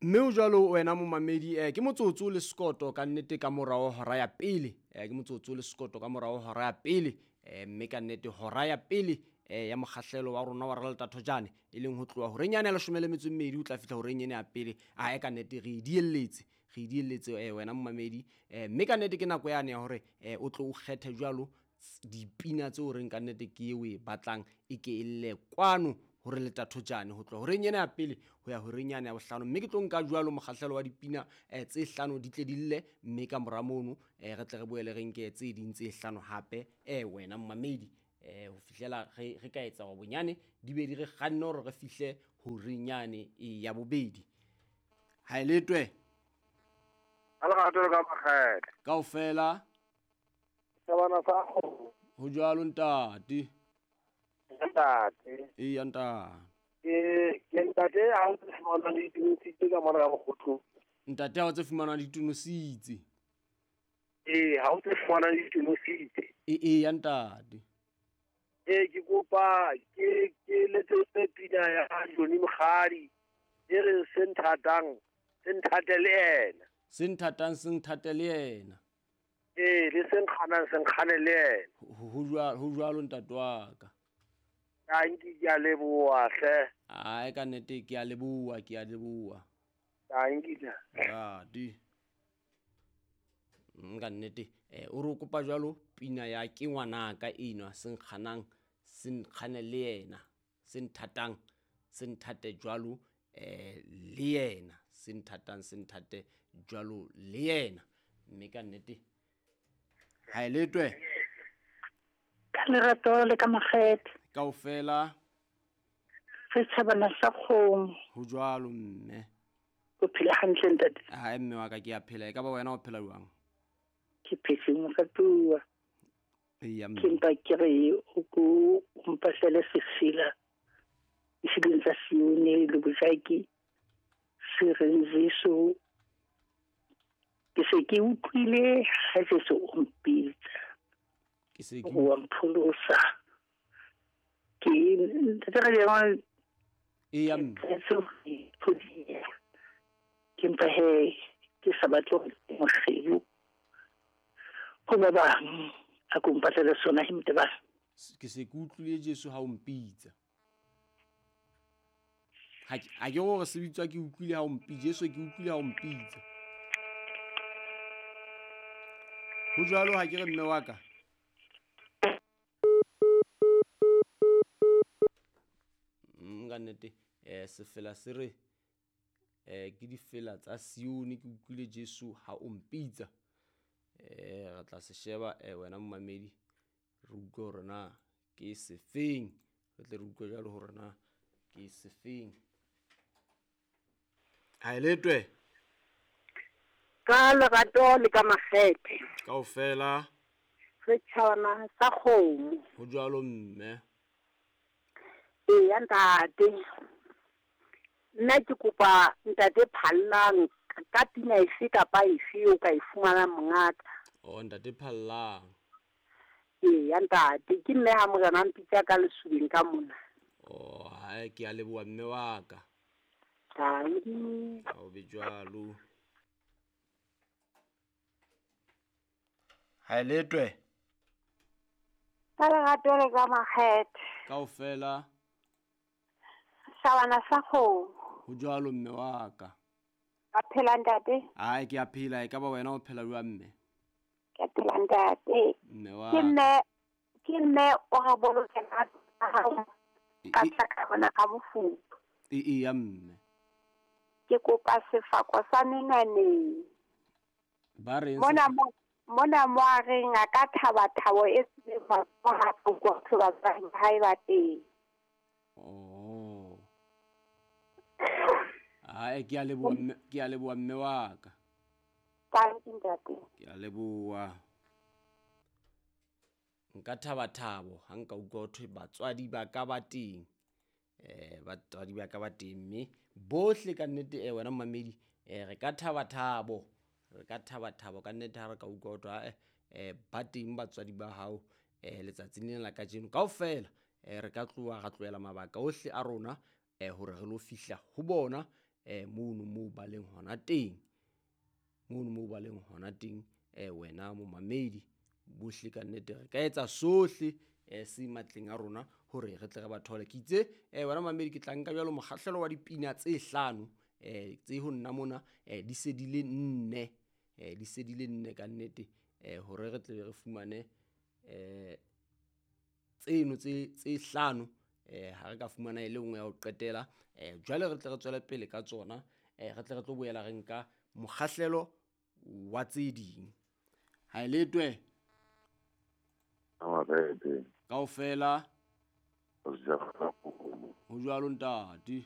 Mme o jwalo wena momamedi, ke motsotso le sekoto ka nnete ka morao hora ya pele, ke motsotso le sekoto ka morao hora ya pele, mme ka nnete hora ya pele ya mokgahlelo wa rona wa Raleta Thojane, e leng ho tloha horeng yane ya 12 o tla fihla horeng ena ya pele. Ae ka nnete re dielletse, re dielletse wena momamedi, mme ka nnete ke nako yane ya hore o tlo o kgethe jwalo dipina tseo reng ka nnete ke eo e batlang e ke e lle kwano hore le Thojane ho tloha horeng ena ya pele ho ya horeng yane ya bohlano. Mme ke tlo nka jwalo mokgahlelo wa dipina tse hlano di tle di lle, mme ka mora mono re tle re boele re nke tse ding tse hlano hape wena momamedi, ho fihlela re ka etsa hore bonyane di be di re kganne hore re fihle horeng yane ya bobedi. Ha e letwe. Ha lerato le ka makgethe. Kaofela. Sabana sa kgomo. Ho jwalo ntate. Ntate. Eya ntate. Ke ntate ha o tse fumanang ditonositse ka mona ka Mokgotlong. Ntate ha o tse fumanang ditonositse. Ee, ha o tse fumanang ditonositse. Eya ntate. Ee, ke kopa ke letsetse pina ya Johnny Mokgadi e reng se nthatang se nthate le yena. Se nthatang se nthate le yena. Ee, le se nkganang se nkgane le yena. Ho jwalo ntate wa ka. Tanki ke a leboha hle. Ae ka nnete ke a leboha, ke a leboha. Tanki hle. Radi. Ka nnete o re o kopa jwalo pina ya ke ngwanaka enwa se nkganang se nkgane le yena, se nthatang se nthate jwalo le yena, se nthatang se nthate jwalo le yena. Mme ka nnete ha e letwe. Ka lerato le ka makgethe. Kaofela. Setjhabana sa kgomo. Ho jwalo mme. O phela hantle ntate? Hae mme wa ka ke a phela, e ka ba wena o phela jwang? Ke phetse moratuwa. Eya mme. Ke mpa ke re o ko o mpahlele sefela diseleng tsa Sione le bojaki se reng Jesu. Ke se ke utlwile ha Jesu o mpitsa. Ke se ke wa mpholosa. Ke ntate re le Eya mme. Ke mpa he ke sa batle ho mokgelo. Ho ba bang a ko mpatlele sona he mte ba. Ke se ke utlwile Jesu ha o mpitsa. Ha ke hore se bitswa ke utlwile ha o mpitsa, Jesu ke utlwile ha o mpitsa. Ho jwalo ha ke re mme wa ka. Ka nnete sefela se re ke difela tsa Sione ke utlwile Jesu ha o mpitsa. Re tla se sheba wena momamedi re utlwe hore na ke sefeng, re tle re utlwe jwalo hore na ke sefeng. Ha e letwe. Ka lerato le ka makgethe. Kaofela. Setjhabana sa kgomo. Ho jwalo mme. Eya ntate. Nna ke kopa ntate Phallang ka pina efe kapa efe o ka e fumanang mongaka. Oh ntate Phallang. Eya ntate, ke mme ha morena mpitsa ka lesubeng ka mona. Oh hae ke a leboha mme wa ka. Tanki. Ha o be jwalo. Ha e letwe. Ka lerato le ka makgethe. Kaofela. Sabana sa kgomo. Ho jwalo mme wa ka. A phela ntate? Ae ke a phela, e ka ba wena o phela jwang mme? Ke a phela ntate. Mme wa Ke mme o re bolokela ka tlaka bona ka mofuthu. Eya mme. Ke kopa sefako sa menwaneng. Ba reng mona mo a reng a ka thaba thabo e se ba ha go ba hae ba teng. Oh. Ae ke a leboha mme, ke a leboha mme wa ka. Tanki ntate. Ke a leboha. Nka thaba thabo ha nka utlwa ho thwe batswadi ba ka ba teng. Batswadi ba ka ba teng mme bohle ka nnete wena momamedi re ka thaba thabo. Re ka thaba thabo ka nnete ha re ka utlwa ho thwe ba teng batswadi ba hao letsatsing lena la kajeno. Kaofela re ka tloha ra tlohela mabaka ohle a rona hore re lo fihla ho bona mono moo ba leng hona teng, mono moo ba leng hona teng. Wena momamedi, bohle ka nnete re ka etsa sohle se matleng a rona hore re tle re ba thole. Ke itse wena mamedi, ke tla nka jwalo mokgahlelo wa dipina tse hlano tse ho nna mona, di se di le nne, di se di le nne ka nnete, hore re tle re fumane tseno tse hlano. Ha re ka fumana e le nngwe ya ho qetela, jwale re tle re tswele pele ka tsona, re tle re tlo boela re nka mokgahlelo wa tse ding. Ha e letwe kaofela ho jwalo ntate.